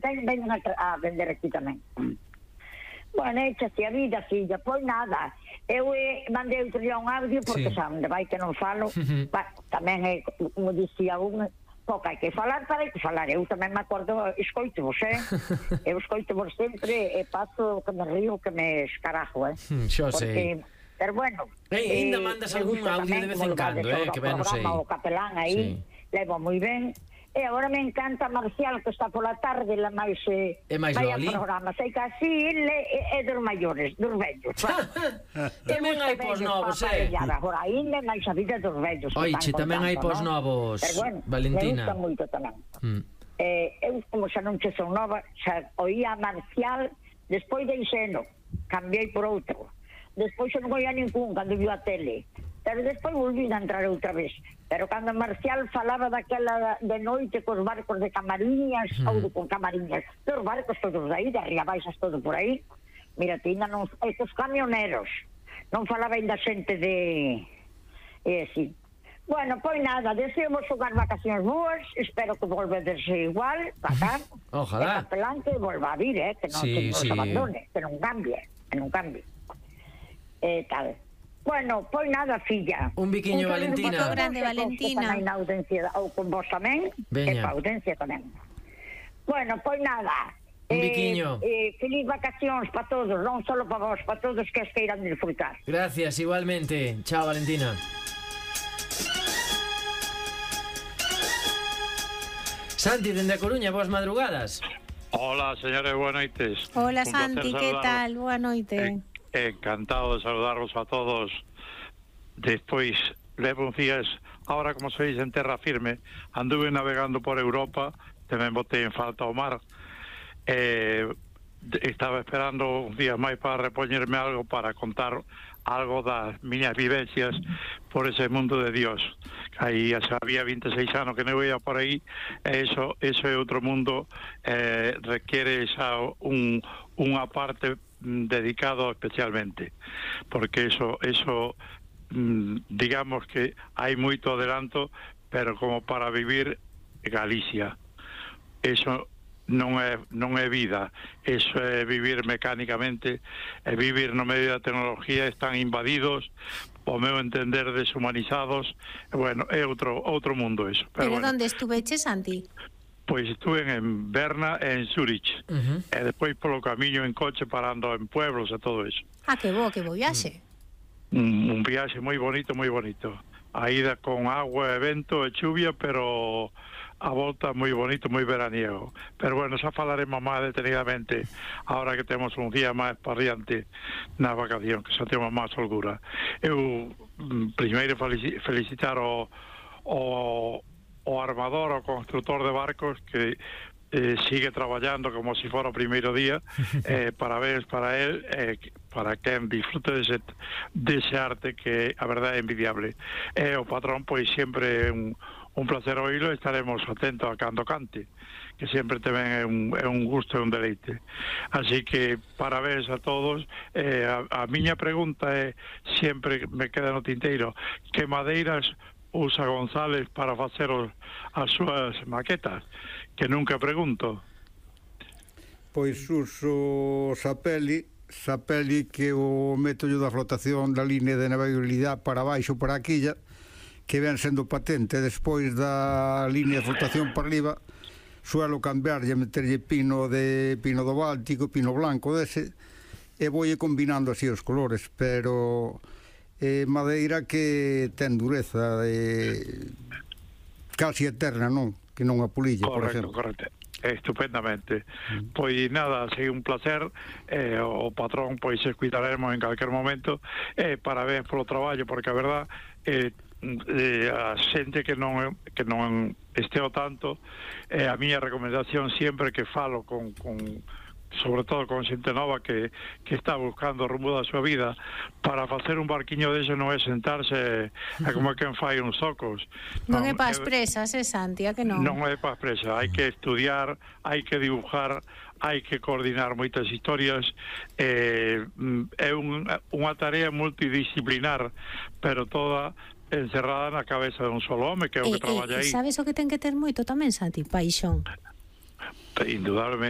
Venen a vender aquí tamén. Bueno, échase a vida, filla. Pois nada, eu mandei outro día un audio porque xa onde vai que non falo. Tamén é, como dicía un, pouco hai que falar para hai que falar. Eu tamén me acordo, escoito-vos, eu escoito-vos sempre e paso que me río, que me escarajo, Xo sei. Pero bueno, ainda mandas algún audio de vez en cando, que ben, non sei. O capelán aí, levo moi ben. E agora me encanta Marcial, que está pola tarde, la máis loli. Programa. Sei que así é dos maiores, dos vellos. Tamén hai pos novos, Agora, ainda máis a vida dos vellos. Oiche, tamén hai pos novos, Valentina. Me gusta moito tamén. Eu, como xa non che son nova, xa oía a Marcial, despois deixeno, cambiei por outro. Despois xa non oía ningún cando viu a tele. Pero despois volví a entrar outra vez. Pero cando Marcial falaba daquela de noite cos barcos de Camariñas, ou con Camariñas, dos barcos todos aí, de arriba baixas todo por aí, mira, ainda non, estos camioneros, non falaba ainda xente de... así. Bueno, pois nada, deseamos xogar vacacións boas, espero que volvedes igual, acá. Ojalá. E capelán que volva a vir, que non nos abandone, que non cambie, tal. Bueno, pois nada, filla. Un biquiño, Valentina. Un grande, Valentina. Na audiencia, ou con vos tamén, e pa audiencia tamén. Bueno, pois nada. Un biquiño. Feliz vacacións para todos, non só para vos, para todos que as queiran disfrutar. Gracias, igualmente. Chao, Valentina. Santi, dende a Coruña, boas madrugadas. Hola, señores, boas noites. Hola, Santi, que tal? Boa noite. Encantado de saludarvos a todos. Despois, levo uns días, ahora como sois en terra firme, anduve navegando por Europa, tamén botei en falta o mar. Estaba esperando uns días máis para repoñerme algo, para contar algo das miñas vivencias por ese mundo de Dios. Aí xa había 26 anos que non ia por aí, e eso é outro mundo, requiere xa unha parte dedicado especialmente, porque eso digamos que hai moito adelanto, pero como para vivir Galicia, eso non é vida, eso é vivir mecánicamente, é vivir no medio da tecnología, están invadidos, ao meu entender deshumanizados, bueno, é outro mundo eso. Pero bueno, onde estuveches, Santi? Pois estuve en Berna e en Zurich, e despois polo camiño en coche parando en pueblos e todo eso. Que bo viaxe. Un viaxe moi bonito, moi bonito. A ida con agua e vento e chuvia, pero a volta moi bonito, moi veraniego. Pero bueno, xa falaremos máis detenidamente ahora que temos un día máis para diante na vacación, que xa temos máis holgura. Eu primeiro felicitar o armador, o constructor de barcos, que sigue traballando como se fora o primeiro día. Parabéns para él, para quen disfrute dese arte que a verdade é envidiable. O patrón, pois sempre un placer oírlo, estaremos atentos a cando cante, que sempre tamén é un gusto e un deleite. Así que parabéns a todos. A miña pregunta é, sempre me queda no tinteiro, que madeiras usa González para facer as súas maquetas, que nunca pregunto. Pois uso sapeli, que o método da flotación da línea de navegabilidade para baixo, para a quilla, que ven sendo patente. Despois da línea de flotación para arriba, suelo cambiarlle, meterlle pino do Báltico, pino blanco dese, e vou combinando así os colores, pero madeira que ten dureza casi eterna, non? Que non a polilla, por exemplo. Correcto. Estupendamente. Pois nada, sei un placer. O patrón, pois escuitaremos en calquer momento. Parabéns polo traballo, porque a verdad a xente que non esteo tanto, a miña recomendación sempre que falo con sobre todo con xente nova que está buscando o rumbo da súa vida, para facer un barquiño dese non é sentarse como quen fai uns zocos. Non é para as presas, Santi, que non? Non é para as presas, hai que estudiar, hai que dibujar, hai que coordinar moitas historias. É unha tarea multidisciplinar, pero toda encerrada na cabeza dun solo home, que é o que traballa aí. Sabes o que ten que ter moito tamén, Santi? Paixón. indudablemente